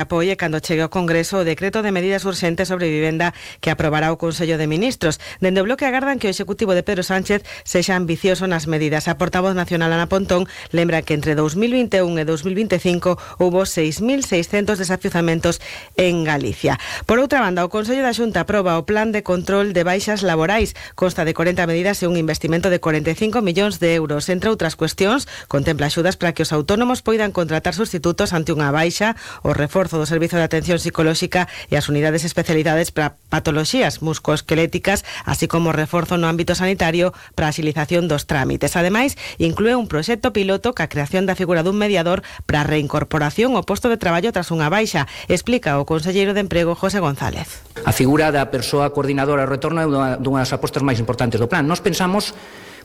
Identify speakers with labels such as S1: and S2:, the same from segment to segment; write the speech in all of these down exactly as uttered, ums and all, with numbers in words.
S1: apoie cando chegue ao Congreso o decreto de medidas urxentes sobre vivenda que aprobará o Consello de Ministros. Dende o Bloque agardan que o Executivo de Pedro Sánchez sexa ambicioso nas medidas. A portavoz nacional Ana Pontón lembra que entre dos mil vinte e un e dos mil vinte e cinco houbo seis mil seiscentos desafiuzamentos en Galicia. Por outra banda, o Consello da Xunta aproba o plan de control de baixas laborais. Consta de corenta medidas e un investimento de corenta e cinco millóns de euros. Entre outras cuestións, contempla axudas para que os autónomos poidan contratar sustitutos ante unha baixa, o reforzo do Servizo de Atención Psicolóxica e as unidades especialidades para patoloxías muscoesqueléticas, así como reforzo no ámbito sanitario para a axilización dos trámites. Ademais, inclúe un proxecto piloto ca creación da figura dun mediador para a reincorporación ao posto de traballo tras unha baixa, explica o conselleiro de Emprego José González.
S2: A figura da persoa coordinadora ao retorno é unha das apostas máis importantes do plan. Nós pensamos,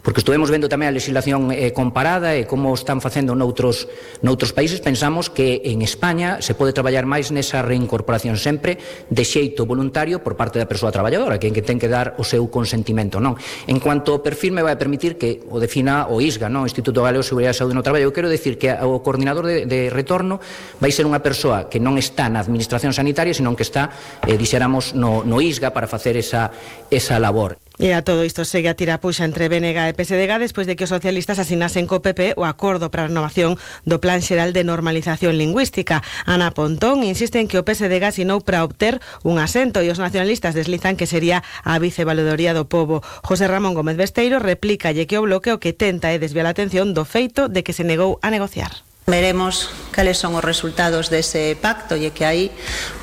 S2: porque estuvemos vendo tamén a legislación eh, comparada e como están facendo noutros, noutros países, pensamos que en España se pode traballar máis nesa reincorporación sempre de xeito voluntario por parte da persoa traballadora, que ten que dar o seu consentimento, non? En cuanto ao perfil, me vai a permitir que o defina o ISGA, non? O Instituto Galego de Seguridade e Saúde no Traballo. Eu quero decir que o coordinador de, de retorno vai ser unha persoa que non está na administración sanitaria, senón que está, eh, dixéramos, no, no ISGA para facer esa, esa labor.
S1: E a todo isto segue a tirapuxa entre B N G e P S D G despois de que os socialistas asinasen co P P o acordo para a renovación do Plan Xeral de Normalización Lingüística. Ana Pontón insiste en que o P S D G asinou para obter un asento e os nacionalistas deslizan que sería a vicevalodoría do pobo. José Ramón Gómez Besteiro replica que o Bloque o que tenta é desviar a atención do feito de que se negou a negociar.
S3: Veremos cales son os resultados dese pacto e que hai,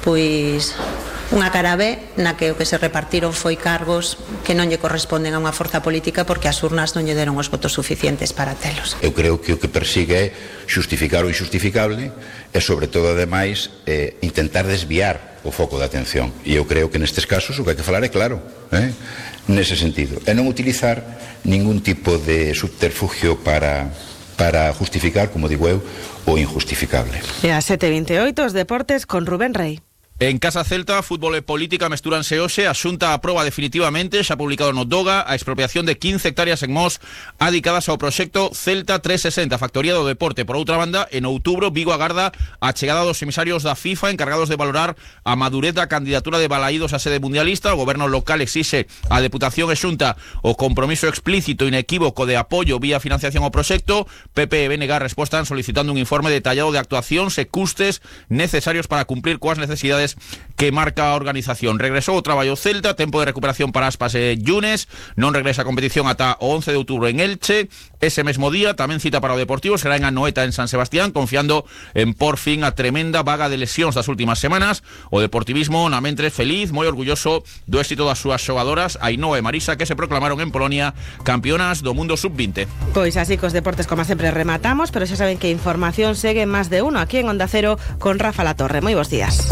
S3: pois, unha cara B na que o que se repartiron foi cargos que non lle corresponden a unha forza política porque as urnas non lle deron os votos suficientes para telos.
S4: Eu creo que o que persigue é xustificar o injustificable e, sobre todo, ademais, eh, intentar desviar o foco de atención. E eu creo que nestes casos o que hai que falar é claro, eh? nese sentido. E non utilizar ningún tipo de subterfugio para... para justificar, como digo eu, o injustificable.
S1: E a sete e vinte e oito, os deportes con Rubén Rey.
S5: En Casa Celta, fútbol e política mestúranse hoxe. A Xunta aproba definitivamente, xa publicado no Doga, a expropiación de quince hectáreas en Mos adicadas ao proxecto Celta trescentos sesenta, factoría do deporte. Por outra banda, en outubro, Vigo agarda a chegada dos emisarios da FIFA encargados de valorar a madurez da candidatura de Balaídos á sede mundialista. O goberno local exixe a Deputación e Xunta o compromiso explícito e inequívoco de apoio vía financiación ao proxecto. P P e B N G respostan solicitando un informe detallado de actuacións e custes necesarios para cumplir coas necesidades que marca a organización. Regresou o traballo Celta, tempo de recuperación para Aspas e Yunes, non regresa a competición ata o once de outubro en Elche. Ese mesmo día tamén cita para o Deportivo, será en Anoeta en San Sebastián, confiando en por fin a tremenda vaga de lesións das últimas semanas. O deportivismo, na mentres, feliz, moi orgulloso do éxito das súas xogadoras Ainhoa e Marisa, que se proclamaron en Polonia campeonas do mundo sub vinte.
S1: Pois así cos deportes, como sempre, rematamos, pero xa saben que información segue máis de uno aquí en Onda Cero con Rafa Latorre. Moi bons días.